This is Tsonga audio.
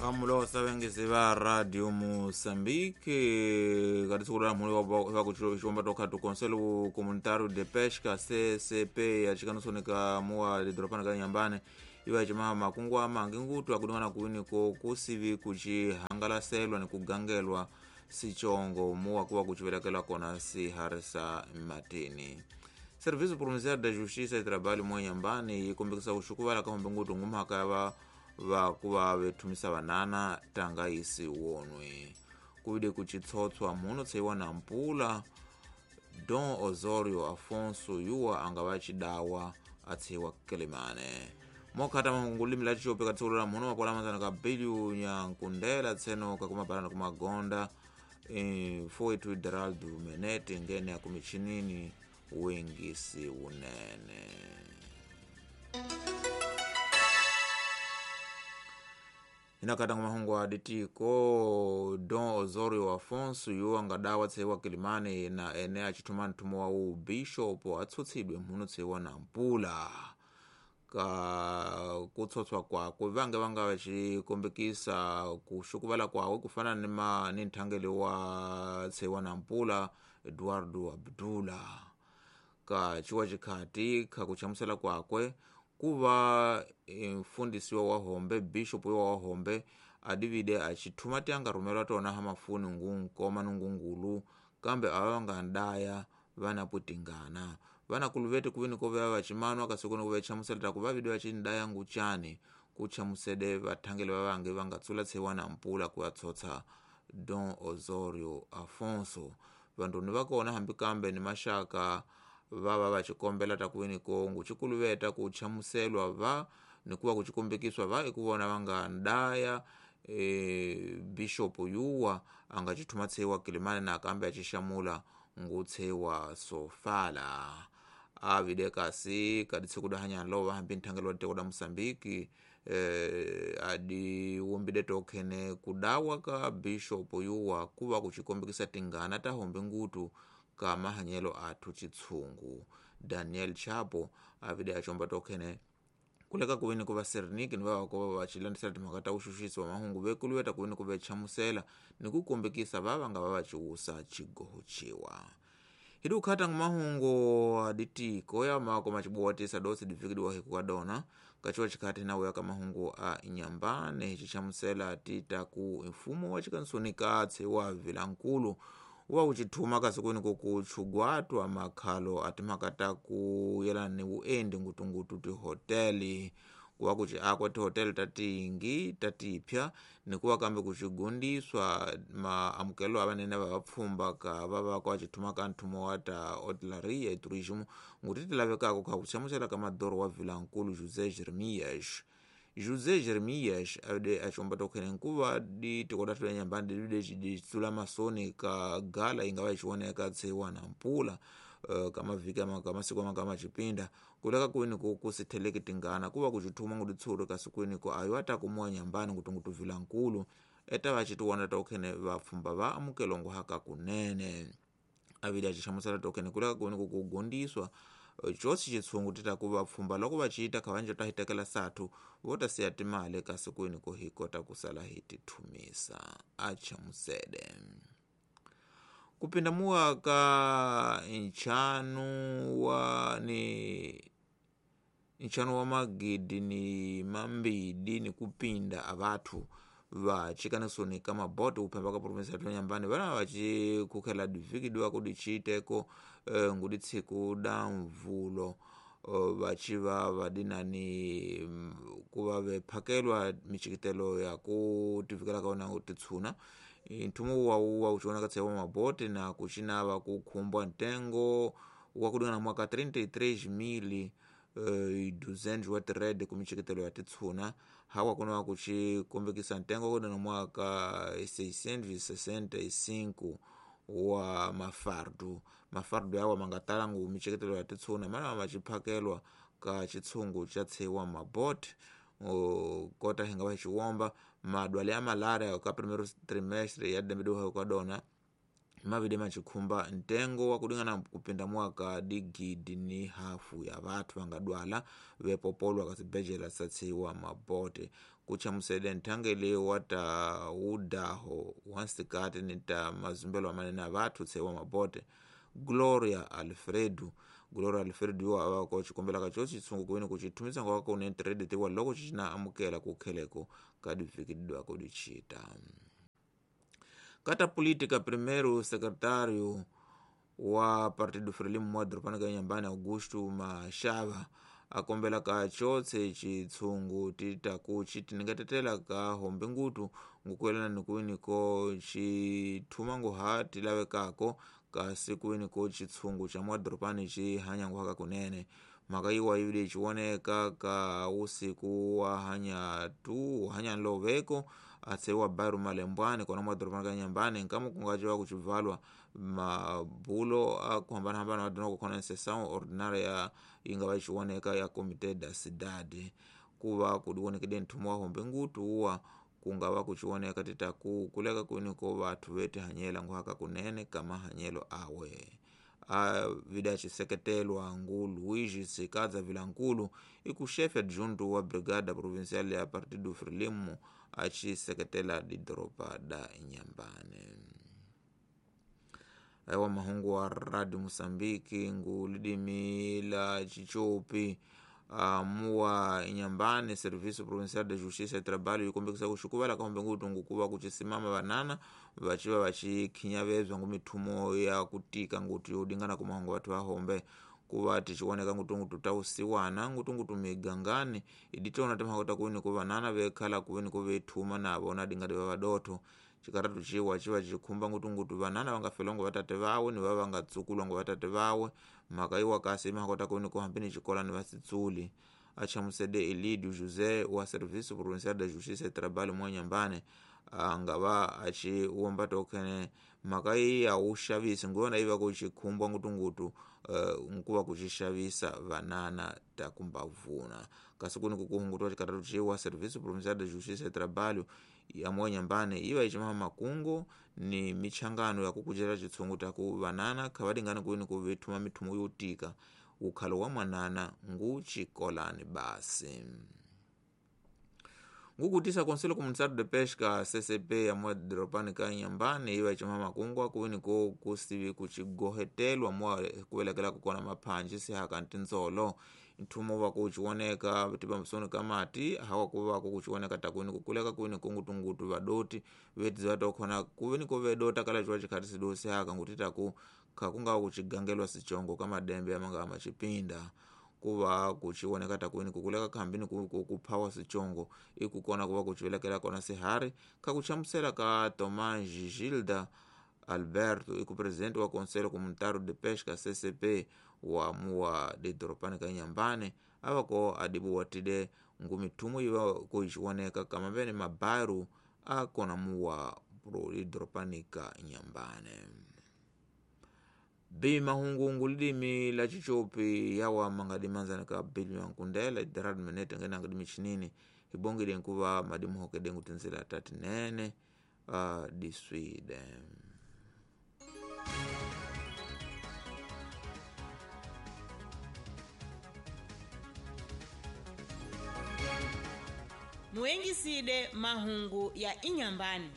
Kamulosa vengezi va Radio Moçambique katitsukula mhuli vakuxiwomba tokhatu Conselho Comunitário de Pesca CCP yacikanusonika muwa lidorofana ka Nyambane iva cimaha makungu amangi ngutu akudingana kuwiniko kusivi kucihangalaselwa ni kugangelwa sichongo muwa kuwa kucivelekela kona siharisa matini. Serviço Provincial da Justiça e Trabalho muwa Nyambane yikombekisa uxukuvala ka hombe ngutu ngumhaka ya va vakuva vethumisa vanana tanga isi wonwe kuvide kuchitsotswa muno tseiwa na mpula Don Osorio Afonso yuwa anga vacidawa atseiwa Kelemane mokhata mahungulimi la ciope katsikulula muno mapola manzana ka Bilio Nyankundela tseno kakumabalana kumagonda foitu Deraldo Menete ngene akumichinini wengisi unene. Inakatanga mahungu aditiko Don Osorio Afonso yuwa ngadawa tseiwa Kilimane na ene acithuma nthumo wa ubishopo atsutsidwe mhuno tseiwa na mpula ka kutsotswa kwakwe vange vanga vacikombekisa kuxukuvala kwawe kufana ni nthangeli wa tseiwa na mpula Eduardo Abdula ka ciwa cikhati khakuchamusela kwakwe kuva mfundisi wa hombe bishop wa hombe adivide acithuma tianga rhumelwa tona ha mafuni ngunkoma nungungulu kambe ava vanga ndaya vana putingana vana kuluvete kuvini kovea vacimanwa kasi kuni kuvechamusela taku vavide vacindaya ngucani kuchamusede vathangeli vavange vangatsula tseiwa na mpula kuyatsotsa Don Osorio Afonso vanduni vakona hambi kambe ni maxaka vava vacikombela takuwini kongu cikuluveta kuchamuselwa va nikuva kucikombekiswa va ikuvona vanga ndaya bishopo yuwa anga cithuma tseiwa Kilimane na kambe acixamula ngutseiwa Sofala avide kasi kaditsiku dahanyana lova hambi nthangeli wa tiko da Moçambique adiwumbide tokhene kudawa ka bishopo yuwa kuva kucikombekisa tingana ta hombe ngutu ka mahanyelo athu citshungu. Daniel Chapo avide acomba tokhene kuleka kuwini kuva Serniki ni vava vacilandisela timhaka ta uxuxisi wa mahungu vekuluweta kuwini kuvechamusela ni kukombekisa vava nga va vaciwusa cigoho ciwa. Hidi ukhata mahungu aditiko ya mako macibuwatisa dosi divikidiwa hiku kadona kaciwa cikhati nawe ka mahungu a Inyambane hici chamusela tita ku mfumo wa cikansunika tsewa Vilankulu wa ucithuma kasi kuni kukuchugwatwa makhalo atimhaka ta kuyelana ni vuendi ngutungutu tihoteli kuva kuci akwa tihoteli ta tingi ta tipya nikuva kambe kucigundiswa maamukelo avanene va vapfhumba ka va va kwa cithuma ka nthumo wa ta hotelaria e turismo nguti ti lavekaka kha kuchamusela ka madoro wa Vilankulu José Jeremias. José Jeremias avide acomba tokhene nkuva di tiko dathu la Nyambane divide ditsula masoni ka gala ingava icioneka tseiwa na mpula kamavhiki kamasiku amanga macipinda kuleka kuwini kusitheleki tingana kuva kucithuma nguditsuri kasi kuwiniko ayo atakumuwa Nyambane ngutungutu Vilankulu eta vacitiwona tokhene vapfhumba va amukelongo haka kunene avide acichamusela tokhene kuleka kuwiniko kugundiswa cosi citshungu tita kuva pfhumba loko vaciita khavanja ta hitekela sathu vo ta siya timali kasi kwini ko hi kota kusala hi tithumisa achamusede. Kupinda muwa ka nchanu wa ni nchanu wa magidi ni mambidi ni kupinda avathu vacikanisoni ka maboto kuphemba ka provinsi ya Nyambane vana vacikukhela divikidiwa kudi ciiteko ngudi tsiku da mvulo vaciva vadinani kuva vephakelwa micikitelo ya kutivikela ka wona titshuna nthumo wawu wa kucioneka tseiwa mabote na kucinava kukhumbwa ntengo wa kudingana mwaka 33 200 wa tirede kumicikitelo ya titshuna hawa kunowa kucikombekisa ntengo kudana mwaka 665 wa mafardu mafardu yawa mangatala ngu micikitelo ya titshuna mana maciphakelwa ka citshungu ca tseiwa mabote kota hinga va xiwomba madwale ya malaria ka primeiro trimestre ya dembe diwa kadona Mavide machikhumba ntengo wakudingana kupinda mwaka digidi ni hafu ya vathu vangadwala vepopolwa kasibhedlela satsiwa mabote kuchamusede nthangeli wa ta udaho wa nsikati ni ta mazumbelo amanene a vathu tsewa mabote Gloria Alfredo. Gloria Alfredo iwo avako cikombelaka co citsungu kuweni kucithumisa ngwaka kunentiredi tiwa loko cicina amukela kukheleko kadivikidwako dicita. Kata política, primeiro secretário wa Partido Frelimo mwadropana ka Inhambane Augusto Machava akombela ka chotse chitsungu titaku chitiningatetela ka hombe ngutu ngukuelana nikuwini ko chithuma nguha tilavekako kasi kuwini ko chitsungu cha mwadropani chihanya nguhaka kunene. Mhaka iwa ivili chiwoneka ka usiku wa hanya tu hanya nloveko atsewa baru malembwani kona mwadropani ka Inhambane nkama kungaciwa kucivalwa mabulo akuhambanahambana wadona kukhona sessão ordinária ingava ichiwoneka ya Comité da Cidade kuva kudiwonekede nthumo wa hombe ngutu uwa kungava kuchiwoneka titaku kuleka kwiniko vathu vetihanyela nguhaka kunene kamahanyelo awe. Avida aciseketelwa ngu Luigi Tsikadza Vilankulu ikuxefe adjunto wa Brigada Provincial ya Partido Frelimo aciseketela didoropa da Inhambane. Aiwa mahungu wa Radio Moçambique ngu lidimi la Chichopi muwa Inhambane Serviço Provincial de Justiça e Trabalho ikombekisa kuxukuvala ka hombe ngutu ngukuva kucisimama vanana vaciva vacikhinyavezwa ngu mithumo ya kutika ngutu yodingana kumahungu vathu va hombe kuva ticiwoneka ngutungutu ta usiwana ngutungutu migangani iditona timhaka ta kuweni ku vanana vekhala kuweni ku vethuma navo na dingati va vadotho. Cikaratu ciwa civa cikhumba ngutungutu vanana vangafelwa ngu vatate vawe ni va vangatsukulwa ngu vatate vawe. Mhaka iwa kasi imhaka ta kuweni ku hambi ni xikolani va sitsuli. Achamusede Elidio José wa Serviço Provincial de Justiça e Trabalho mwa Inhambane angava aciwomba tokhene mhaka iyi ya uxavisi nguyona iva kucikhumbwa ngutungutu nkuva kucixavisa vanana takumbavuna. Kasi kuni kukuhungutiwa cikaratu ciwa Serviço Provincial de Justiça e Trabalho ya mwa Inhambane iva icimaha makungo ni michangano ya kukucela citsungu taku vanana khavadingana kuweni kuvithuma mithumo yotika ukhalo wa mwanana ngu cikolani basi. Ngukutisa Conselho Comunitário de Pesca CCP ya mwadropani ka Inhambane iva icimaha makungu akuweni ko kusivi kucigohetelwa mwa kuvelekela kukona maphanji sihaka ntintsolo. Nthumo wa kuciwoneka tipambisoni ka mati hawa kuva kuciwoneka takuweni kukuleka kuweni kungutungutu vadoti vetiziva tokhona kuweni kuvedota kala ciwa cikhati sidosi haka ngutitaku khakungawa kucigangelwa sichongo ka madembe amanga amacipinda. Kuva kuciwoneka takuweni kukuleka khambini kuphawa sichongo ikukona kuva kucivelekela kona sihari khakuchamusela ka Tomás Gilda Alberto ikupresidente wa Conselho Comunitário de Pesca CCP wa muwa didoropani ka Inhambane avako adibuwatide ngu mithumo iva kuiciwoneka kamavene mabaru akona muwa didoropani ka Inhambane. Bi mahungu ngulidimi la Chichopi yawa mangadimanzana ka Billy Nkundela idarad menete ngena ngadimi chinini ibongile nkuva madimuhokede ngutinzila tatinene diswide. Muengiside mahungu ya Inhambane.